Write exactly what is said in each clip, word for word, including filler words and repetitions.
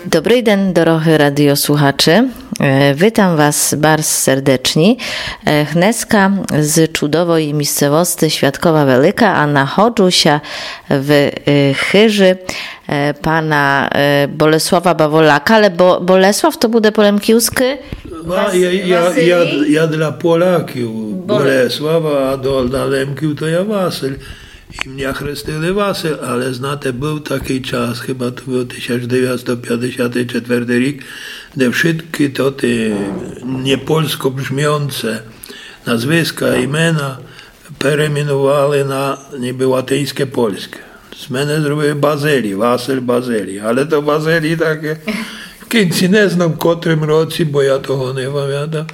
Добрый ден, дорогы радиослухачы. Е, витам вас барз сердечні. Е, гнеска з чудовой місцевости Святкова Велика, а находжу ся в, е, хыжы, е, пана, е, Болеслава Баволяка, але Бо-, Болеслав то буде по лемківскы? Ва-, Вас-, я, я, я, Василій? Я для Поляків Боле- Болеслав, а до, для Лемків то я Василь. І мене хрестили Василь, але, знате, быв такый час, хіба то быв тисяч девятсто пятдесят четвертый рік, де вшыткы тоты непольско бжміонце назвиска, імена перейменували на нібы латиньске польске. З мене зробили Базилій, Василь Базилій. Але то Базилій таке, в кінці не знам, в котрым році, бо я того не памятам,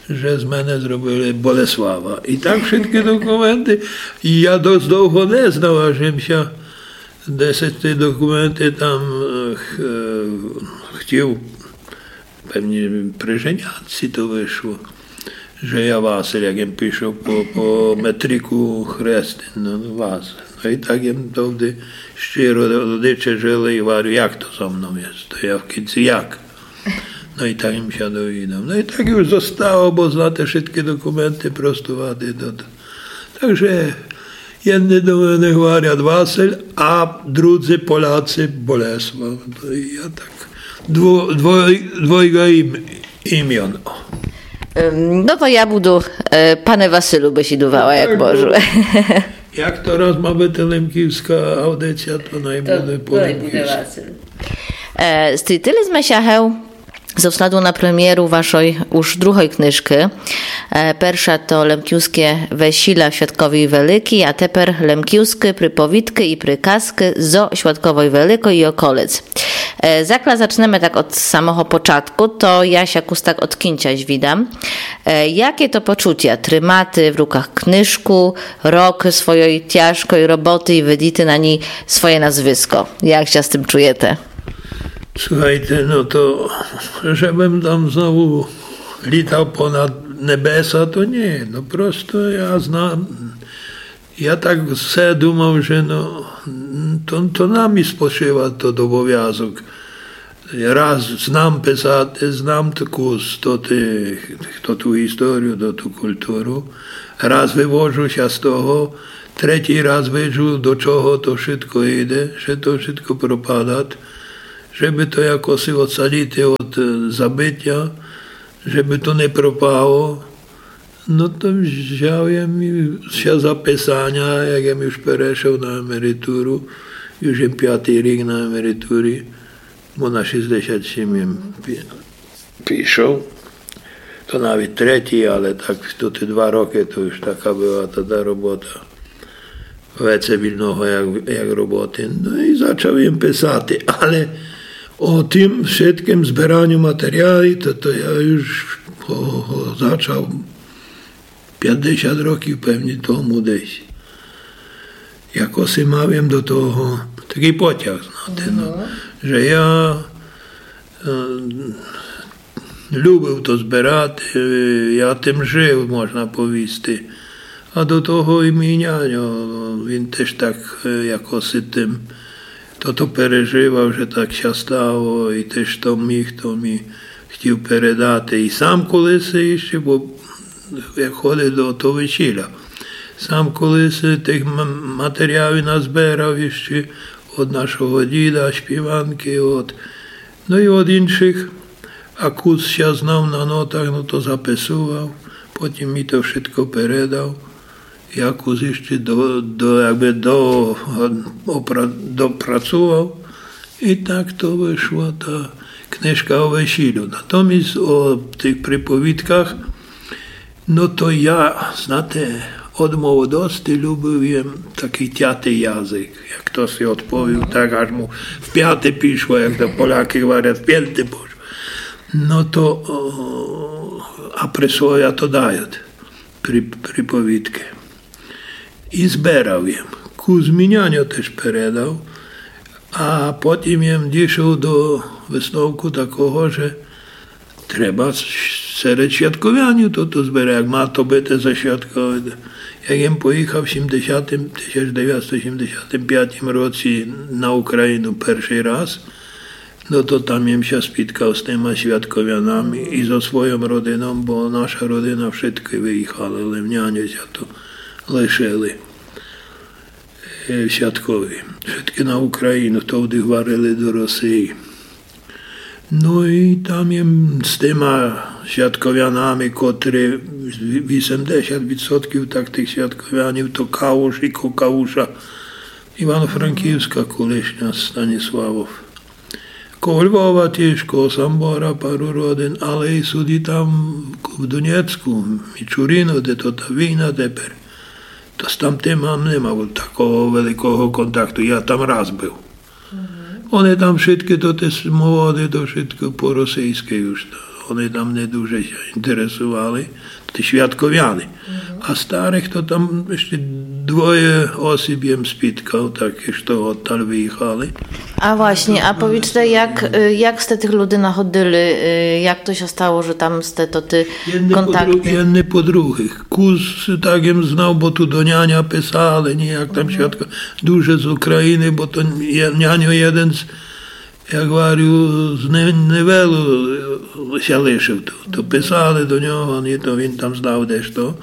же з мене зробили Болеслава. І так вшыткы документы. І я досыт довго не знав, аж им ся десь ті документы там, е, х-, е, хотів, певні при женятці то вышло, же я Василь, як им пішов по, по метрику хрестин, но, Василь. Но і так им товды щиро родиче жыли і говорю, як то зо мнов є, то я в кінці як. Но і так им ся довідав. Но і так уж зостало, бо, знате, вшыткы документы простувати то, то. Так же єдны до мене говорять Василь, а друзі Поляці Болеслав. То і я так дво-, двой-, двойга ім-, іміон. Ем, no to ja budu, e, pane Wasylu, bysідувала, jak можу. Як то раз ма быти лемківска аудиція, то най буде по лемківску. Wasyl. E, стрітили зме ся гев зо сладу на премієру вашой уж другой книжкы. E, перша то Лемківске весіля в Святковій Великій, а тепер Лемківскы приповідкы і приказкы зо Святковой Великой і околиц. E, закля зачнеме так од самого початку, то я ся кус так од кінця звідам. E, яке то почутя тримати в руках книжку, рокы свойой тяжкой роботы і видіти на ній своє назвиско? Як ся з тым чуєте? Слухайте, но то, жебым там знову літав понад небеса, то ні. Но просто я знам, я так все думав, же, но, то, то на мі спочива тот обовязок. Раз знам писати, знам таку з тоти, тоту історію, тоту културу. Раз вывожу ся з того, третій раз виджу, до чого то вшытко іде, же то вшытко пропадат, жебы то якоси оцаліти од, е, забытя, жебы то не пропало. Но то взяв єм ся за писаня, як єм уж перешов на емеритуру, уж єм пятый рік на емеритурі, бо на шістдесят сім єм пі-, пішов. То навіт третій, але так тоты два рокы, то уж така была тота робота. Веце вільного, як, як роботы. Но і зачав єм писати, але о тым вшыткым збераню матеріалів, то, то я уж го, го зачав пятдесят років, певні, тому десь. Якоси мав єм до того такый потяг, знате, но, же я, е, любив то зберати, е, я тым жив, можна повісти. А до того і мій няньо, він теж так, е, якоси тым тото переживав, же так ся стало, і теж то міг, то мі хотів передати. І сам колиси іщи, бо як ходив до того весіля, сам колиси тых м-, матеріалів назберав іщи од нашого діда, співанкы, од, но і од іншых. А кус ся знав на нотах, но то записував, потім мі то вшытко передав. Я кус іщи до, до, якбы до, опра-, допрацував. І так то вышла та книжка о весілю. Натоміст о тых приповідках, но то я, знате, од молодости любив єм такый тятый язык. Як хтоси одповів, так аж му в пяты пішло, як то Полякы говорят, в пенты пошло. Но то, о, а присловя то дають при-, приповідкы. І зберав єм. Кус мі няньо теж передав, а потім єм дійшов до висновку такого, же треба с-, серед святковянів то, то зберати, як ма то быти за святкове. Як єм поїхав в сімдесятым, тисяч девятсто сімдесятым пятым році на Україну першый раз, Но то там єм ся спіткав з тыма Святковянами і зо свойом родином, бо наша родина вшыткы выіхали, лем няньо ся то лишили. Е, Святкови. Вшыткы на Україну, товды гварили до Росиі. Но і там єм з тыма Святковянами, котры вісемдесят відсотків так тых Святковянів, то Кауш і ко Кауша, Івано-Франківска колишня, Станіславов. Коло Львова тіж, коло Самбора пару родин, але і сюды там в Донецьку, Мічуріно, де то та війна тепер. То з тамтыма не мав такого великого контакту, я там раз быв. Они там вшыткы то, тоты молоды, то вшытко по-російськы уж. Они там не дуже ся інтересовали, тоты Святковяни. А старых то там іщы двоє осіб єм спіткав, такых, што одталь выіхали. А власні, а повічте, як, е, як сте тых люди находили, е, як то ся стало, же там сте то тоты контакты? Єдны по друг-, єдны по другых. Кус так єм знав, бо ту до няня писали, ні, як там Святко, дуже з Україны, бо то є-, няньо єден з, як гварю, з не-, Невелу, е, ся лишив ту. То писали до нього, ні, то він там знав дешто.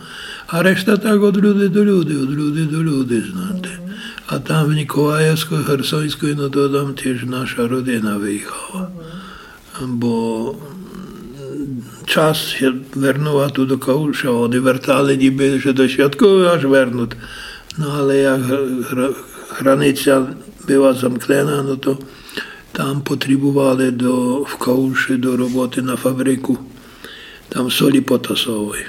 А решта так од люди до люди, од люди до люди, знате. А там в Ніколаєвську, Херсонську, но то там тіж наша родина выіхала. Бо, м, част ся вернула ту до Кауша, они вертали, нібы же до Святкови аж вернут. Но але як гра-, гра-, границя была замкнена, но то там потребовали до, в Кауши до роботы на фабрику. Там солі потасовой.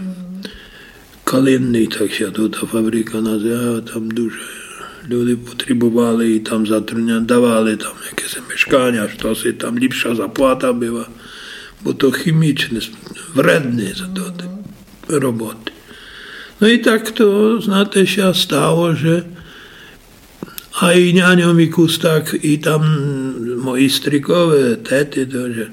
Калинный, так ся то та фабрика называла, там дуже люди потребовали і там затрудня-, давали там якесь мешканя, штоси там ліпша заплата была, бо то хімічне, вредне за то, те роботы. Но і так то, знате, ся стало, же А і няньо мі кус так, і там мої стрікове, теты, то, же,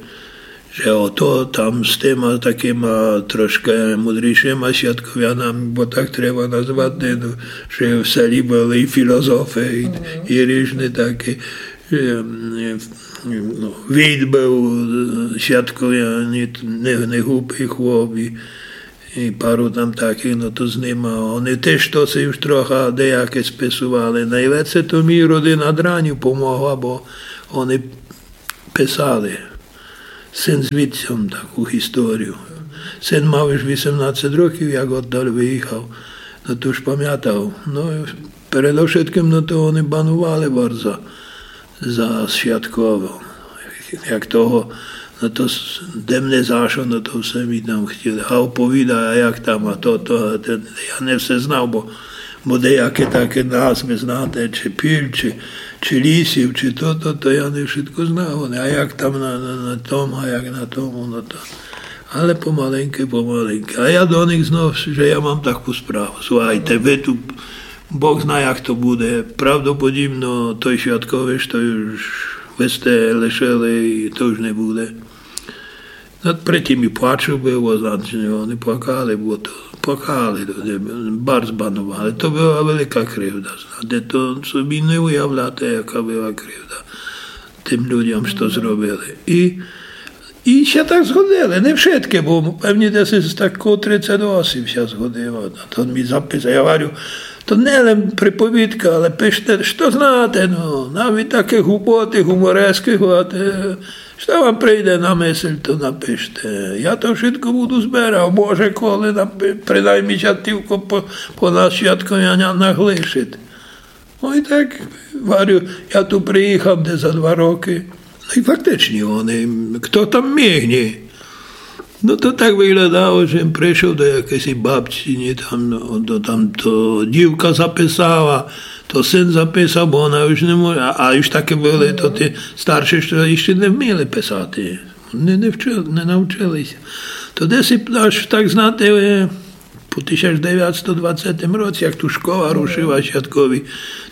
же ото там з тыма такыма трошкы мудрішыма Святковянами, бо так треба назвати, но, же в селі были і філозофы, і, і ріжны такі, же, м, но, Війт был, е, Святковянин, не, не глупый хлоп, і І пару там такых, но то з нима. Они тіж то си уж троха деяке списовали. Найвеце то мі родина Дранів помогла, бо они писали. Син з вітцьом таку історію. Син мав уж вісемнадцет років, як одталь выіхав. Но то уж памятав. Но, передовшыткым, но то они бановали барзо за Святковом. Як того, но то с-, де мене за што, но то всьо мі там хотіли. А оповідай, а як там, а то, то, а те, я не всьо знав, бо, бо деякі такі назвы, знате, чи піль, чи, чи лісів, чи то, то, то я не вшытко знав. А як там на, на, на тому, а як на тому, но то. Але помаленькы, помаленькы. А я до них знов, же я мам таку справу. Слухайте, вы ту Бог зна, як то буде. Правдоподібно, той Святкович, то уж вы сте лишили, і то уж не буде. Но, при тім і плачу было, значить, они плакали, бо то плакали, то не, барз бановали. То была велика кривда, знате, то собі не уявляте, яка была кривда тым людям, што зробили. І І ся так згодили, не вшыткы, бо певні десь з такого тридцет осіб ся згодило. А то мі записав, я гварю, то не лем приповідка, але пиште, што знате, но, навіть такы глупоты, гуморескы, гварите, што вам прийде на мысль, то напиште. Я то вшытко буду зберав, може, коли напи-, принаймні ся тілько по, по нас Святковянах лишить. Но і так, гварю, я ту приіхав десь за два рокы. Но і фактычні они, хто там міг, ні? Но то так выглядало, же єм пришов до якоїсь бабці, ні, там, но, то, там то дівка записала, то син записав, бо она уж не може, а, а уж такы были, то тоты старшы, што іщы не вміли писати. Не, не вчи-, не навчили ся. То десь і аж так, знате, е, По тисяч девятсто двадцятым році, як ту школа рушила Святкови,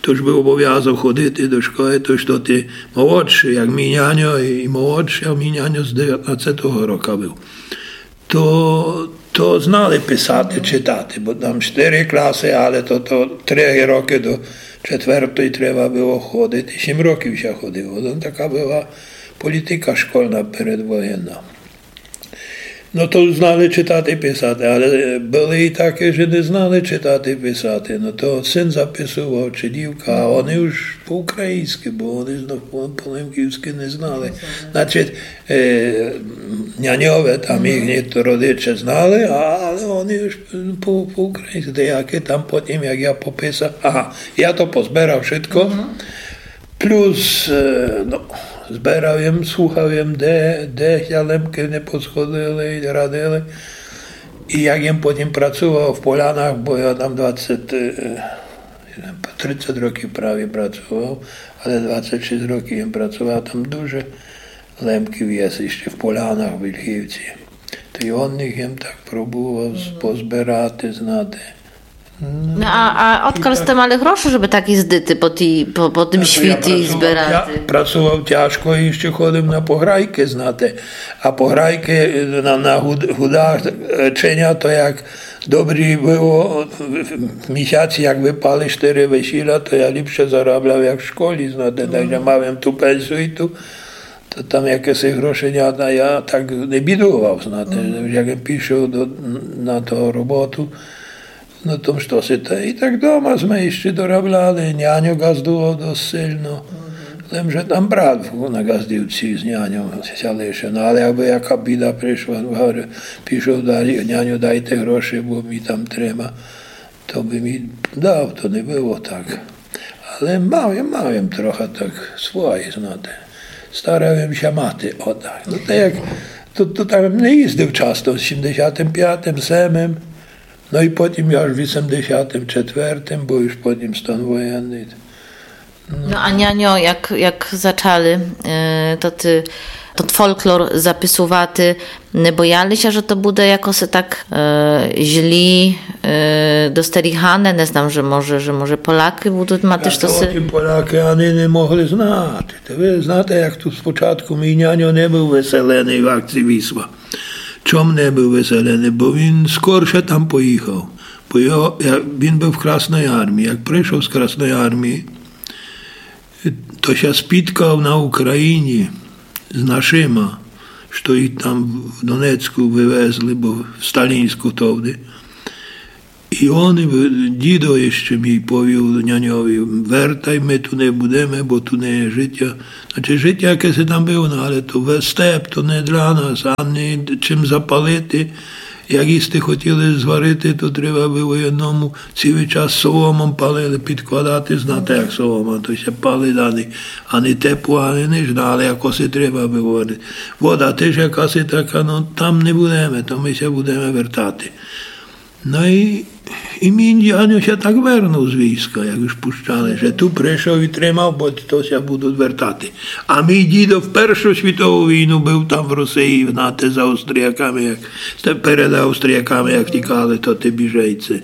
то уж был обовязок ходити до школы, то уж тоты молодшы, як мій няньо, і молодшы, а мій няньо з девятнадцятого рока был. То, то знали писати, читати, бо там штыри класы, але то, то три рокы до четвертої треба было ходити, сім років ся ходило. То така была Політика школьна передвоєнна. Но то знали читати, писати, але были і такі, што не знали читати, писати. Но то син записовав, чи дівка, а они уж по-українськы, бо они знов по-, по-лемківськы не знали. Значить, е, няньове там їхні родичі знали, а, але они уж по-, по-українськы, деякі там потім, як я пописав. Ага, я то позбирав шытко. Плюс, е, но, збирав єм, слухав єм, де, де ся Лемкы не посходили і радили. І як єм потім працовав в Полянах, бо я там двадцять, е, тридцять років праві працовав, але двадцять шість років єм працовав, там дуже Лемків є іщы в Полянах, в Вільхівці. То й од них єм так пробовав з-, позбирати, знати. Но, а, а одкаль сте мали грошы, жебы так їздити по тій, по, по тым світі і збирати? Я працовав тяжко і іщы ходив на пограйкы, знате. А пограйкы на, на гуд-, гудачыня, то як добрі было, місяці, як выпали штыри весіля, то я ліпше заробляв, як в школі, знате. Так же мав єм ту пенсію і ту, то там якісь грошы, я, я так не бідовав, знате. Як єм пішов до, на ту роботу, но то што си то. І так дома сме іщы доробляли, няньо ґаздовав досить сильно. Лем же там брат на ґаздівці з няньом ся лишив. Но але якбы яка біда пришла, говорю, пішов далі, няньо, дайте грошы, бо мі там треба. То бы мі дав, то не было так. Але мав єм, мав єм трохи так свої, знате. Старав єм ся мати, отак. Но то як, то, то там не їздив часто, в сімдесятым пятым, семым, но і потім аж в вісемдесятым четвертым, бо уж потім стан воєнный. Но а няньо, як, як зачали, е, то ты, тот фолклор записовати, не бояли ся, же то буде якоси так, е, злі, е, достерігане? Не знам, же може, же може Полякы будут мати штоси. Тым Полякы ани не могли знати. Та вы знате, як ту спочатку мій няньо не быв выселеный в акції Вісла. Чом не быв выселеный? Бо він скорше там поїхав. Бо його, я, він быв в Красній армії. Як пришов з Красної армії, то ся спіткав на Україні з нашыма, што їх там в Донецьку вывезли, бо в Сталінську товды. І он, дідо іщы мій повів няньови: «Вертай, мы ту не будеме, бо ту не є житя». Значить, житя якесь там было, но але то ве-, степ, то не для нас, ани чим запалити. Як їсти хотіли зварити, то треба было єдному цілый час соломом палили, підкладати, знате, як солома, то ся палить, ани, ани тепло, ани нич, но але якоси треба было. Вода тыж якаси така, но там не будеме, то мы ся будеме вертати. Но і, і мій няньо ся так вернув з війська, як уж пущали, же ту пришов і тримав, бо то ся будут вертати. А мій дідо в Першу світову війну быв там в Росії, знате, за австрияками, як, перед австрияками, як тікали, то тоты біжейці.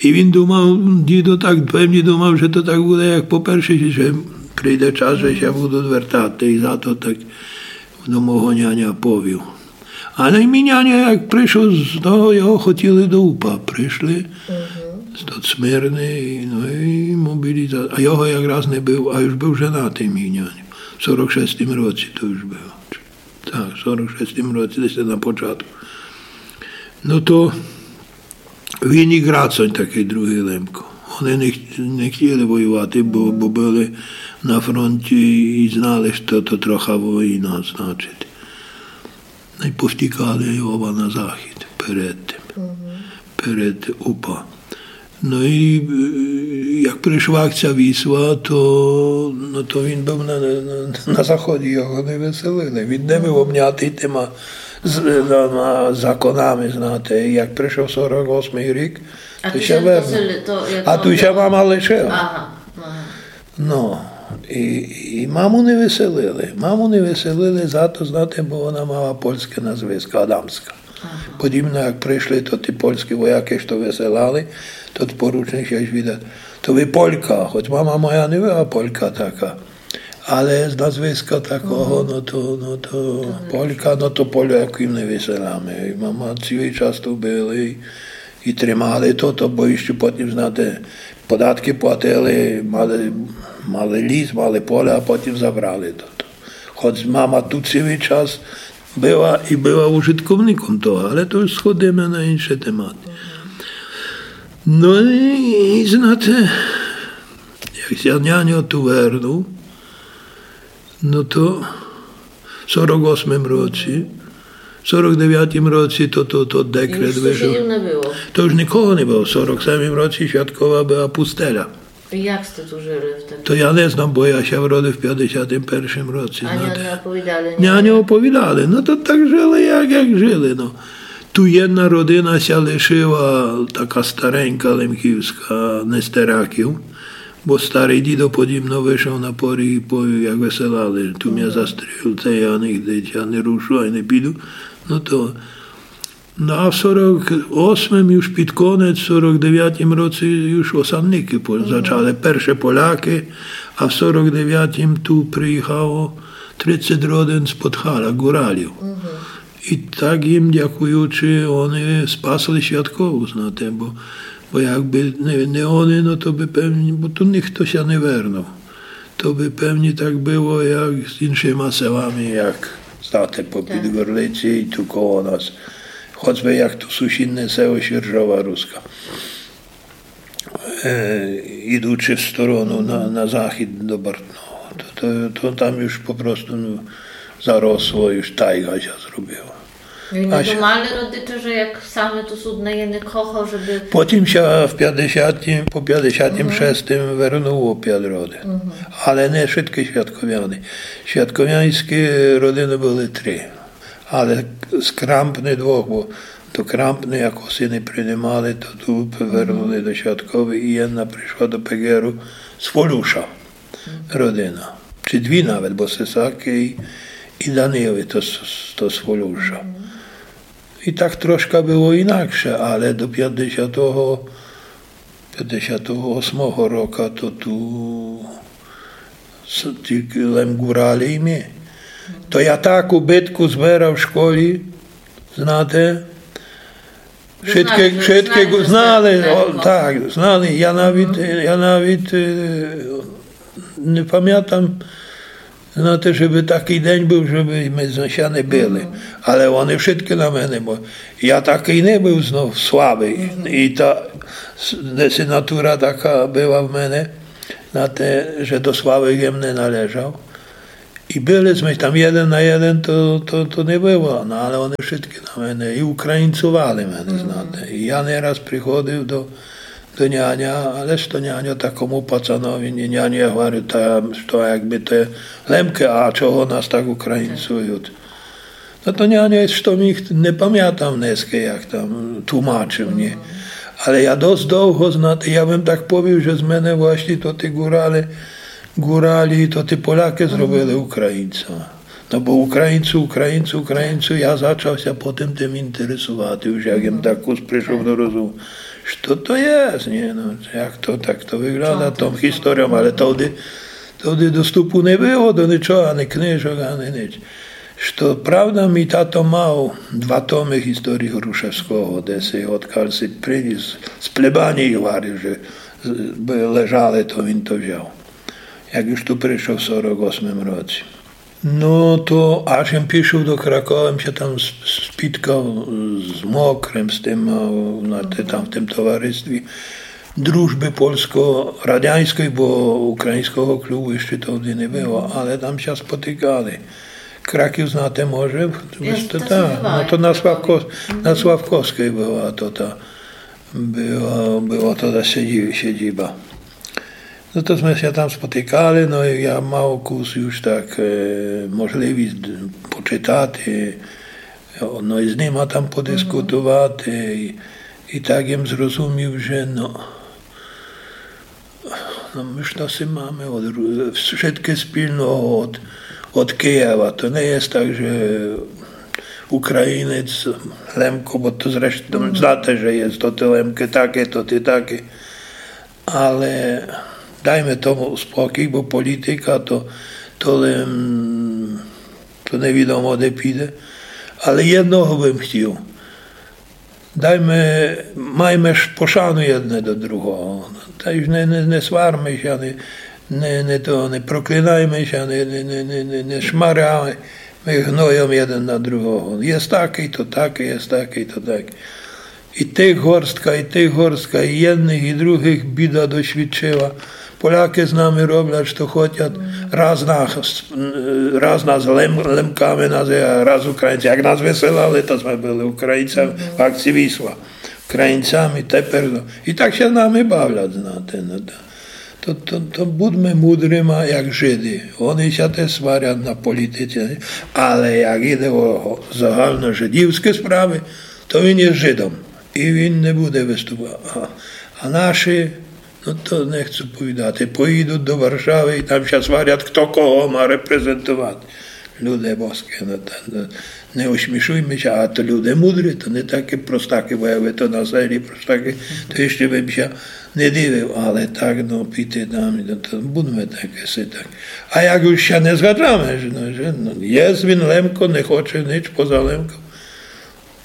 І він думав, дідо так певні думав, же то так буде, як по Першій, же прийде час, же ся будут вертати. І зато так до мого няня повів. Але мій няня, як пришов з того, його хотіли до УПА, пришли, стать смирный, но і мобіліза-, а його якраз не быв, а уж быв женатый мій няня. В сорок шестім році то уж было. Так, в сорок шестім році, десь на початку. Но то він і Грацонь, такый другый Лемко. Они не, х-, не хотіли воювати, бо, бо были на фронті і знали, што то трохи война, значить. Но й повтікали оба на захід перед тым, перед УПА. Но і, е, як пришла акція Вісла, то, но то він быв на, на, на заході, його не выселили. Він не быв обнятый тыма з-, на, на законами, знате. Як пришов сорок осмый рік, то ся вернув. А ту ся мама лишила. Ага, ага. Но, і, і маму не выселили. Маму не выселили зато, знате, бо она мала польське назвисько, Адамска. Ага. Подібно як пришли тоты польські воякы, што выселали, тот поручник ся звідат: «То вы Полька?» Хоц мама моя не была Полька така. Але з назвиська такого, но то, но то Полька, но то Поляків не выселяме. І мама цілый час ту были і, і тримали то, то, бо іщы потім, знате, податкы платили, мали, мали ліс, мали поле, а потім забрали то, то. Хоц мама ту цілый час была і была ужытковником того, але то уж сходиме на іншый темат. Но і, і знате, як ся няньо ту вернув, но то в сорок осмым році, в сорок девятым році то, то, то декрет вышов. Юж сусідів не было. То уж никого не было. В сорок семым році Святкова была пустеля. І як сте ту жыли втеды? То я не знам, бо я ся вродив в пятдесятым першым році. А няньо оповідали? Няньо оповідали. Но то так жыли, як, як жыли, но. Ту єдна родина ся лишыла, така старенька лемківска, Нестераків, бо старый дідо подібно вышов на поріг і повів, як выселяли: «Ту мя застрілите, я нигде ся не рушу, ай не піду». Но то Но а в сорок осмым, юж під конець, в сорок девятым році юж осадникы по-, зачали. Перше полякы, а в сорок девятым ту приіхало тридцет родин з Подхаля, Гуралів. І так їм дякуючи, они спасли Святкову, знате, бо, бо якбы не, не они, но то бы певні, бо ту нихто ся не вернув. То бы певні так было, як з іншыма селами, як, знате, по Підґорлиці і ту коло нас. Хоцбы як то сусідне село Сіржова Руска. Е, ідучи в сторону на, на захід до Бартного. То, то, то там юж попросту, но, заросло, юж тайґа ся зробила. І не думали родичі, же як саме ту судне є, не кохав, же бы... Потім ся в пятдесятым, по пятдесятым шестым вернуло пять родин. Але не вшыткы святковяны. Святковяньскы родины были три. Але з Крампны двох, бо до Крампны якоси не принимали, то ту вернули до Святковы і єдна пришла до Пеґеру з Фолюша. Родина. Ци дві навет, бо Сесакы і, і Данилы, то з, то з Фолюша. І так трошка было інакше, але до пятдесятого, пятдесятого осмого рока то ту с-, тілько лем Гуралі і мы. То я таку битку зберав в школі, знате, Вшыткы, вшыткы знали, о, так, знали. Я навіт, я навіт, е, не памятам, знате, жебы такый день был, жебы мы з-, ся не били. Але они вшыткы на мене, бо я такый не был знов слабый. І та с-, десь натура така была в мене, знате, же до слабых єм не належав. І были сме там єден на єден, то, то, то не было, но але они вшыткы на мене і українцовали мене, знате. І я не раз приходив до, до няня, але што няньо такому пацанові, не, няньо, я говорю, та што, якбы то Лемкы, а чого нас так українцують? Но то няньо, што міг, не памятам днеска, як там тлумачыв, ні. Але я досыт довго, знате, я бым так повів, же з мене власні то ті Гуралі, Гуралі, то ті Полякы зробили українця. Но бо українцю, українцю, українцю, я зачав ся потім тым інтересовати, уж як єм так кус пришов до розуму. Што то є? Ні, но, як то так то выглядат, тым історіям, але тогды, тогды доступу не было до нічого, ані книжок, ані ніч. Што правда, мій тато мав два томы історії Грушевского, де си, одкаль си принїс з Плебанії, говорив, же, е, бы лежали, то він то взяв. Як уж ту пришов в сорок осмым році. Но то аж єм пішов до Кракова, єм ся там с-, спіткав з Мокрым, з тым, е, на те-, там в тым товаристві дружбы польско-радяньской, бо україньского клубу іщы тогды не было, але там ся спотикали. Краків знате може? Та, но то на Славко-, на Славковской была то та, была, была тогды сидзи-, сидзіба. Но то сме ся там спотикали, но і я мав кус уж так, е, можливіст д-, почитати, но і з нима там подискутовати. І, і так єм зрозумів, же, но, но мы ж то си маме од ру-, вшыткы спільного од, од Києва. То не є так, же українець, Лемко, бо то зрештом знате, же є то ті Лемкы такы, то ті такы. Але дайме тому спокій, бо політика то, то лем, то невідомо де піде. Але єдного бым хотів. Дайме, майме ж пошану єдне до другого. Та й не, не, не сварме ся, не, Не, не то, не проклинайме ся, не, не, не, не, не, не шмаряйме гнойом єден на другого. Єст такый, то такый, єст такый, то такый. І тых горстка, і тых горстка, і єдных, і другых біда досвідчыла. Полякы з нами роблят, што хотят, раз нас, раз нас лем-, лемками называют, раз Українцями. Як нас высылали, то сме были Українцями в акції Вісла. Українцями, тепер, но. І так ся нами бавлят, знате, но, то. То, то, то будьме мудрима, як Жыды. Они ся тіж сварят на політиці, але як іде о загальножыдівскы справы, то він є Жыдом. І він не буде выступати. А, а наші, но то не хочу повідати, поїдут до Варшавы і там ся сварят, хто кого ма репрезентовати. Люде боскы, но, та, но, не усмішуйме ся, а то люде мудрі, то не такы простакы, бо якбы то на селі простакы, то іщы бым ся не дивив, але так, но, піти там, но, то будьме такы си так. А як уж ся не згаджаме, же, но, же, но, єст він Лемко, не хоче нич поза Лемком,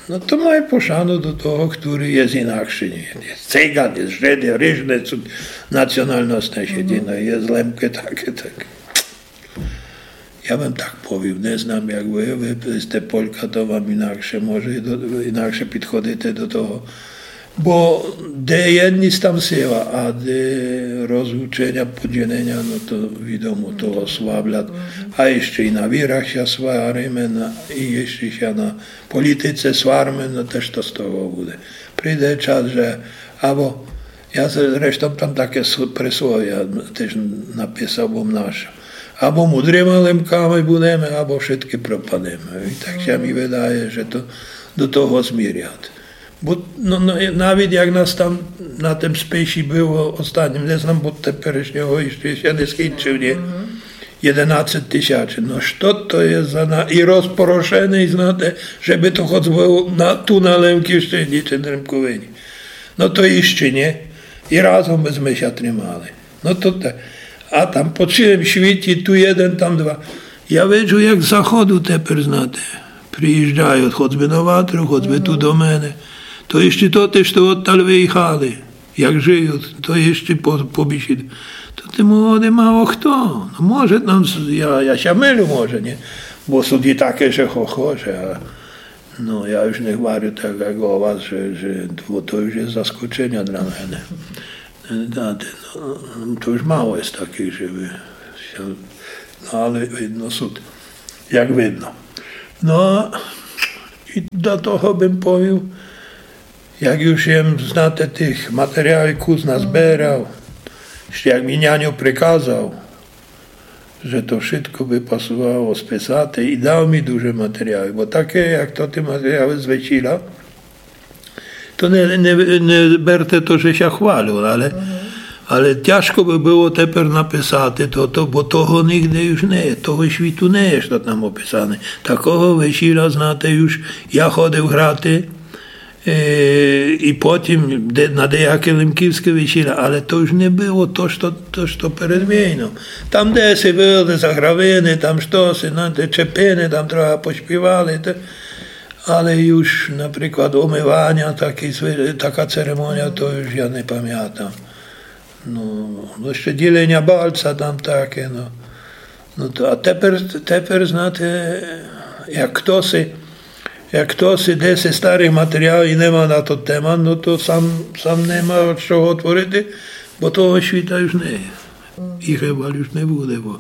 но, то май пошану до того, хтори єст інакшый, ні? Єст Циган, єст Жыд, єст ріжны сут національности, єдино єст Лемкы, такы, так. Я бым так повів, не знам, як вы, вы сте Полька, то вам інакше може, до, інакше підходите до того. Бо де єдность, там сила, а де розлученя, поділеня, но то відомо, того славлят. А іщы і на вірах ся свариме, на, і іщы ся на політиці сварме, но тіж што з того буде? Прийде час, же, або я зрештом там такє с-, присловя тіж написав, бо наша. Або мудрима Лемками будеме, або вшыткы пропадеме. І так ся мі выдає, же то до того змірят. Бо, но, но, навіт як нас там на тым списі было остатнім, не знам, бо теперішнього іщы ся не скінчыв, ні? Єденадцет тисячы. Но што то є за на-, і розпорошеный, знате, же бы то хоц было на, ту на Лемківщыні ци на Лемковині. Но то іщы, ні? І разом бы сме ся тримали. Но то те. А там по цілым світі, ту єден, там два. Я виджу, як з заходу теперь, знате, приїжджают, хоц бы на Ватру, хоц бы ту до мене. То іщы то, тіж, што одталь выїхали, як жыют, то іщы по-, побісіду. То ты молодый мало хто. Но може там, с-, я, я ся мылю, може, ні? Бо сут і такы, же хо-, хо-, же, а Но, я уж не гварю так, як о вас, же, же то, то уж є заскоченя для мене. Знаєте, но, то уж мало є такых, же бы ся, но, але видно сут, як видно. Но, і до того бым повів, як уж єм, знате, тых матеріалів кус назберав, іщы як мі няньо приказав, же то вшытко бы пасувало списати, і дав мі дуже матеріалів, бо такє, як то тоты матеріалы з весіля, то не, не, не берте то, же ся хвалю, але, але тяжко бы было теперь написати то, то, бо того нигде уж не є, того світу не є, што там описане. Такого весіля, знате, уж я ходив грати, Е, і потім де-, на деякы лемківскы весіля, але то уж не было то, што, то, што перед войном. Там деси были загравины, там штоси, но, те чепины, там трохы поспівали, те, але уж, наприклад, умываня, такы звы-, така церемонія, то уж я не памятам. Но, но, іщы діленя бальца там такє, но. Но то, а теперь, теперь, знате, як хтоси, як хтоси деси старых матеріалів і не ма на то тема, но то сам, сам не ма з чого творити, бо того світа уж не є. І хыба уж не буде, бо,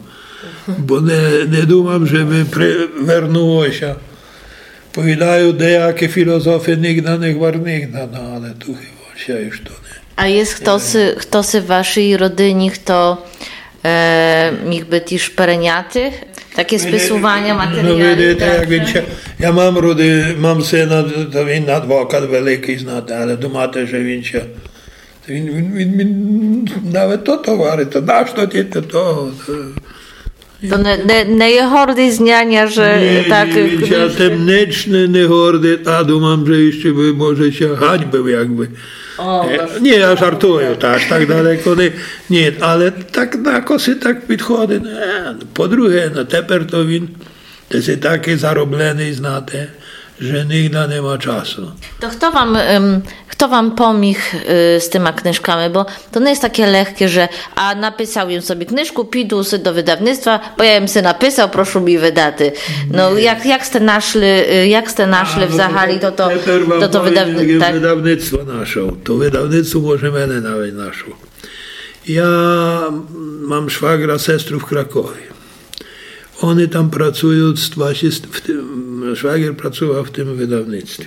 бо не, не думам, же бы привернуло ся. Повідаю, деякы філозофы нигда не гвар нигда, но, але ту хыба ся уж то не. А єст хтоси, хтоси в вашій родині, хто, е, міг бы тіж переняти такє списуваня матеріалів? Но, видите, як він ся, я мам роди-, мам сина, то він адвокат великый, знате, але думати, же він ся, він, він, він, він навет то товарит, то нашто ті то, то, то. То не, не, не є гордый з няня, же так, він ся тым нич не, не гордит, а думам, же іщы бы, може, ся ганьбив, якбы. О, е, ні, я жартую, та аж так далеко не, ні, але так на коси так підходит. Е, по-друге, но, теперь то він, то єст такый заробленый, знате, же нигда не ма часу. То хто вам, ем, хто вам поміг, е, з тыма книжками? Бо то не є таке легке, же а написав єм собі книжку, піду си до выдавництва, бо я єм си написав, прошу мі выдати. Но, як, як сте нашли, е, як сте нашли взагалі то, то, то, то выдавни-, як єм выдавництво нашов? То выдавництво може мене навіть нашов. Я мам швагра, сестру в Кракові. Они там працуют з двадцять, в тым, швагер працовав в тым выдавництві.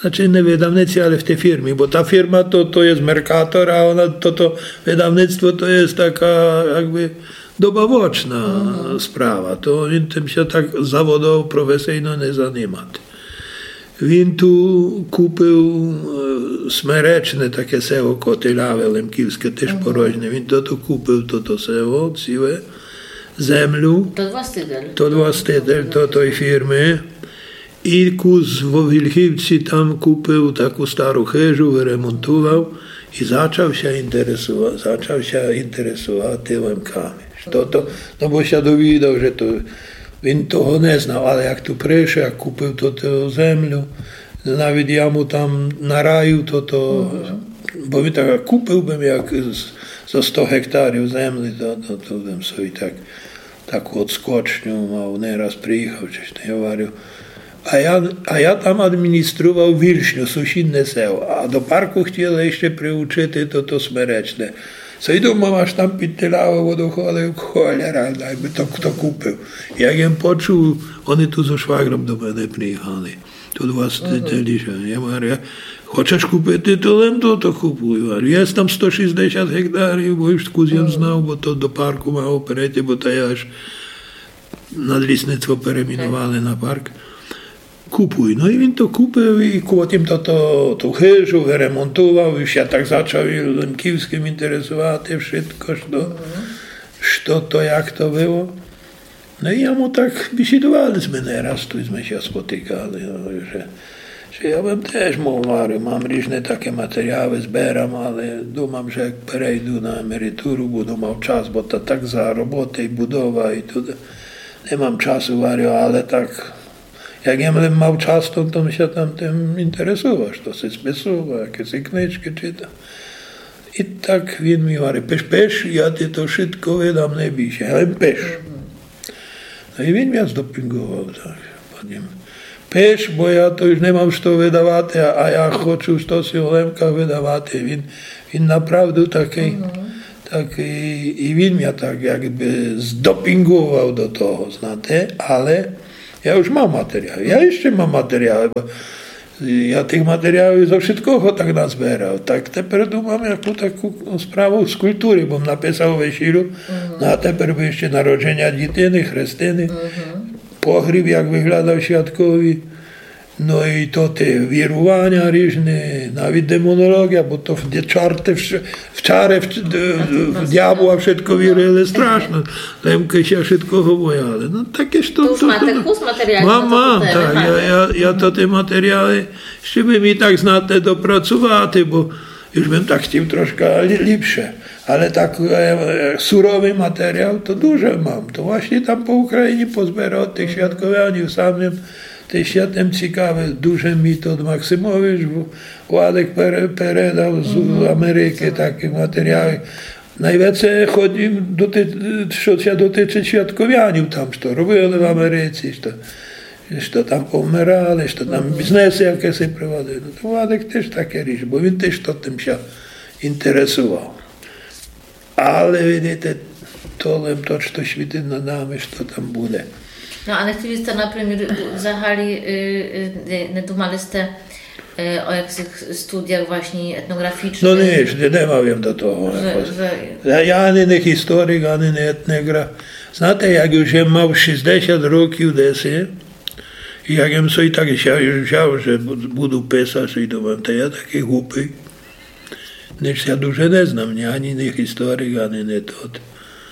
Значыт, не выдавництві, але в тій фірмі, бо та фірма то, то є Меркатор, а она, то, то выдавництво то є така, якбы, добавочна справа. То він тым ся так заводово, професийно не занимат. Він ту купив, е, Смеречне, таке село Котеляве, лемківске, тыж порожне. Він то, то купив, то, то село, ціле, землю. То властитель. То властитель то, той фірмы. І кус во Вільхівці там купив таку стару хыжу, выремонтовав і зачав ся інтересова-, зачав ся інтересовати лемками. То, то, но бо ся довідав, же то, він того не знав, але як ту пришов, як купив то, ту землю, навіть я му там нараїв то, то, бо він так: купив бым як з-, за сто гектарів землі, то, то, то бым собі так таку одскочню мав, не раз приїхав, чи што, я говорю. А я, а я там адміністрував Вільшню, сусідне село, а до парку хотіли іщи приучити то, то Смеречне. Сойду, мам, аж там під Тилявом водоходив, холера, най бы то хто купив. Як єм почув, они ту зо швагром до мене приїхали. Тут властителі, же я говорю: «Хочеш купити, то лем то, то купуй». Говорю: «Є там сто шістдесят гектарів, бо уж кус єм знав, бо то до парку мало перейти, бо то є аж надлісництво перейменовали на парк. Купуй». Но і він то купив, і потім то, то, ту хыжу выремонтовав, уж ся так зачав і лемківскым інтересовати, вшытко, што, што то, як то было. Но і я му так бесідовали сме не раз, ту сме ся спотикали, но, же, же я бым тыж мав, говорю, мам ріжне таке матеріалы, зберам, але думам, же як перейду на емеритуру, буду мав час, бо то так за роботы і будова, і туды не мам часу, говорю, але так, як єм лем мав час, то, то ся там тым інтересовав, што си списовав, якісь книжкы читав. І так він мі говорить: «Пиш, пиш, я ти то вшытко выдам, не бій ся, але пиш». Но і він мя здопінґовав, так, потім: «Пиш, бо я то уж не мам што выдавати, а, а я хочу штоси о Лемках выдавати». Він, він направду такый, такый, і він мя так якбы здопінґовав до того, знате, але я уж мам матеріалы, я іщи мам матеріалы, бо я тых матеріалів зо вшыткого так назберав. Так тепер думам, яку таку справу з культуры, бо м написав весілю, но а тепер бы іщи народженя дітины, хрестины, погріб, як выглядав святковый, но і то тоты віруваня ріжны, навіть демонолоґія, бо то в чарты, в ш-, в чары, в, в дявола вшытко вірили страшно. Лемкы ся вшыткого бояли. Но таке ж то. То уж то, мате то, кус матеріалів на ту тему, так, га? Я, я, я то тоты матеріалы, іщи бы мі так, знате, допрацовати, бо уж бым так хотів трошка лі-, ліпше. Але так, е, е, суровый матеріал то дуже мам. То власні там по Україні позберав тых святковянів, сам єм тыж ся тым цікавив. Дуже мі тот Максимович Владик пере-, передав з Америкы такі матеріалы. Найвеце ходив до ти-, што ся дотычыт святковянів там, што робили в Америці, што, што там повмирали, што там бізнесы якісь провадили. Но то Владик тыж таке ріж, бо він тыж то тым ся інтересовав. Але, видите, то лем то, што світить над нами, што там буде. Но, а не хотіли сте, наприклад, взагалі, е, е, не, не думали сте, е, о якыхось студіях власні етноґрафічных? Но ніч, не, не мав єм до того якось. Я, я ані не історик, ані не етноґраф. Знате, як уж єм мав шістдесят років деси, і як єм собі так ся уж взяв, же бу-, буду писац, і думам, та я такый глупый. Ніч ся дуже не знам, ні, ані не історик, ані не тот.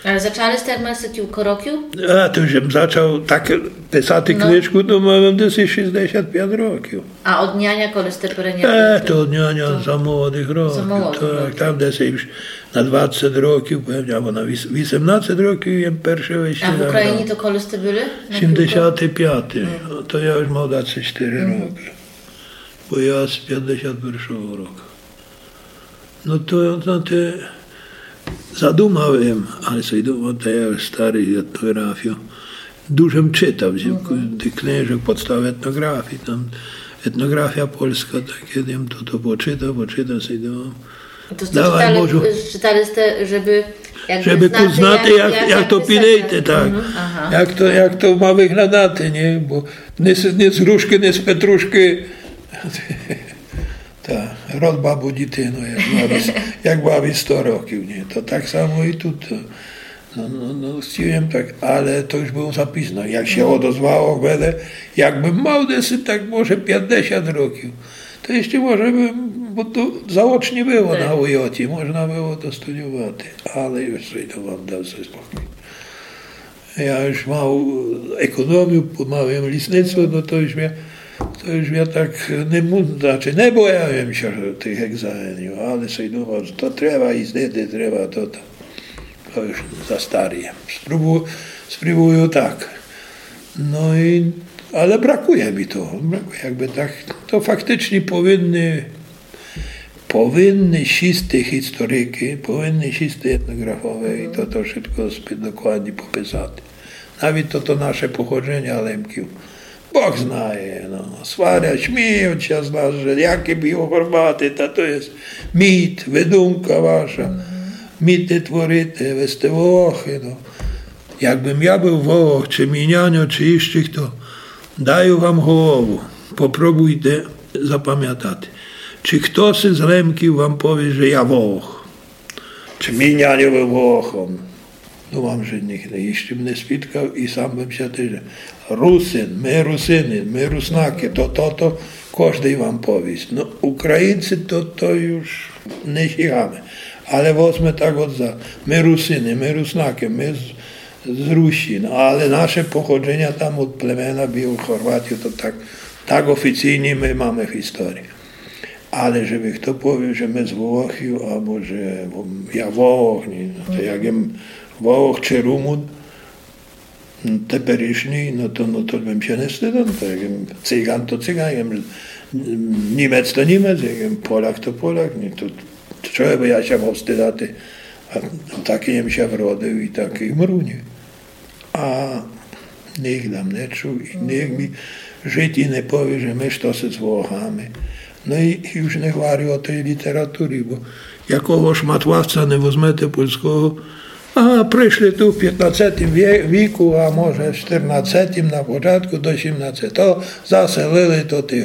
Але зачали сте, як мали сте кілько років? А, то уж єм зачав так писати книжку, то мав єм десь шістдесят пять років. А од няня коли сте перейняли? Е, то од няня за молодых років. За молодых років. Так, там десь уж на двадцять років, певно, або на віс-, вісемнадцять років єм перше весілля грав. А в Україні то коли сте были? Сімдесятый пятый. То я уж мав двадцять чотири рокы. Бо я з пятдесят першого року. Но то, знаєте, задумав єм, але сей думав, та я уж старый, етнографію дуже м читав, тых книжок, подстава етнографії, там етнографія польска, так я єм то, то почитав, почитав, сей думав. To ste Dawaj, czytali, Bożu. Czytali ste, żeby jakby Żeby знати, знати, як, як, як то писати. Пілити, так. Мгм, ага. Як то, як то ма выглядати, ні? Бо ні з, ні з грушкы, ні з петрушкы. Та, род бабу дітину, як бабі, як бабі сто років, ні? То так само і тут. То, но, но, но, хотів єм так, але то уж было за пізно. Як ся одозвало, буде, якбым мав десь так може пятдесят років, то іщы може бы, бо то заочні было на уйоті, можна было то студіювати, але уж сей то вам дав сей спокій. Я уж мав економію, мав єм лісництво, но то уж я, то уж я так не му-, значыт, не бояв єм ся тых екзаменів, але сей думав, то треба їздити, треба то, то. То уж за старый єм. Спробую, спробую так. Но і, але бракує мі того, бракує, якбы так. То фактычні повинны, повинны сісти історикы, повинны сісти етнографове і то, то вшытко спі-, докладні пописати. Навіт то, то наше походженя Лемків. Бог знає, но. Сварять, сміють ся з нас, же які бі Горбаты, та то єст міт, выдумка ваша. Міт не творите, вы сте Волохы, но. Якбым я был Волох, ци мій няньо, ци іщы хто, даю вам голову, попробуйте запамятати. Ци хтоси з Лемків вам повіст, же я Волох? Ци мій няньо был Волохом? Думам, же ніхто, іщы м не спіткав, і сам бым ся тыж. Русин, мы Русины, мы Руснакы, то, то, то, кождый вам повіст. Но, Українці, то, то уж не сігаме. Але возме так от за, мы Русины, мы Руснакы, мы з, з Русі, но, але наше походженя там од племена Білых Хорватів, то так, так офіційні мы маме в історії. Але же бы хто повів, же мы з Волохів, або же я Волох, ні, то як єм Волох ци Румун, м, теперішній, но то, но то бым ся не стыдив, то як єм Циган, то Циган, як єм, м, Німец, то Німец, як єм Поляк, то Поляк, ні, то чого бы я ся мав стыдати? А такій єм ся вродив і такій вмру, ні? А ніґда м не чув, і ніґда мі в житї не повіст, же мы штоси з Волохами. Но і, і уж не гварю о тій літературі, бо якого шматлавця не возмете польского, а пришли ту в пятнадцетім вє-, віку, а може в штирнадцетім на початку до сімнадцетого, заселили то ті